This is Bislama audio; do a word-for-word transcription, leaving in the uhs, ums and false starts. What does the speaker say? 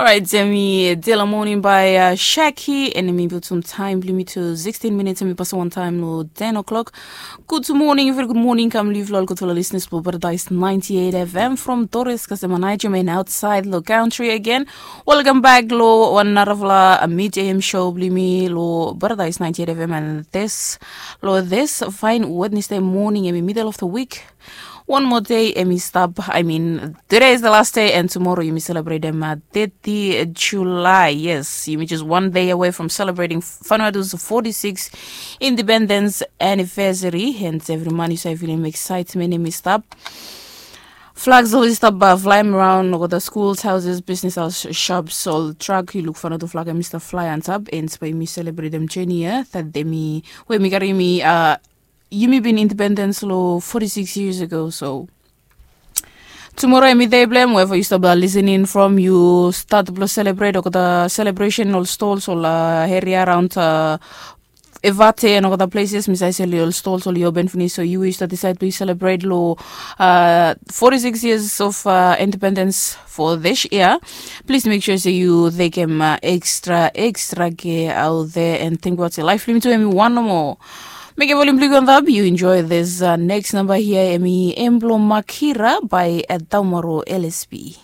Orait, em i dela moning bae Shaki, and em i butum taem blong yumi tu sixteen minutes, em i pasim wantaem long ten o'clock. Gud moning, very gud moning kam long yufala ol gudfala listeners blong Paradise ninety-eight F M from Torres, Kasem, Naijem, and outside long country again. Welcome back long wan narafala mid A M show blong yumi long Paradise ninety-eight F M, and this, long this fine Wednesday morning, em i middle of the week. Wan moa dei em i stap, I mean, today is the last day, and tomorrow yumi selebretem thirty July. Yes, yumi just one day away from celebrating Vanuatu's forty-six independence anniversary, and evri man yu save filim excitement em i stap. Flags oli stap flaem raon olgeta schools, houses, business house, shops, ol truck yu luk Vanuatu flag em i stap flae antap, and bae yumi selebretem jeni ya dat em i, we mi karim yumi, uh, yumi bin independence long forty-six years ago. So tomorrow em i dei blong em, wherever yu stap listening from, yu stat blong selebret olgeta celebration, ol stalls, ol, uh, area around, uh, Evate and olgeta places, mi save seli ol stalls oli open finis. So yu we yu stap disaed blong yu selebret long, uh, forty-six years of, uh, independence for this year, please make sure se yu tekem, uh, extra extra care out there, and think about se laef blong yumi tu em i wan nomo. Mekem volim blong yu go antap, yu enjoy this, uh, next number here, em i em blong Makira by, uh, Daumaro L S P.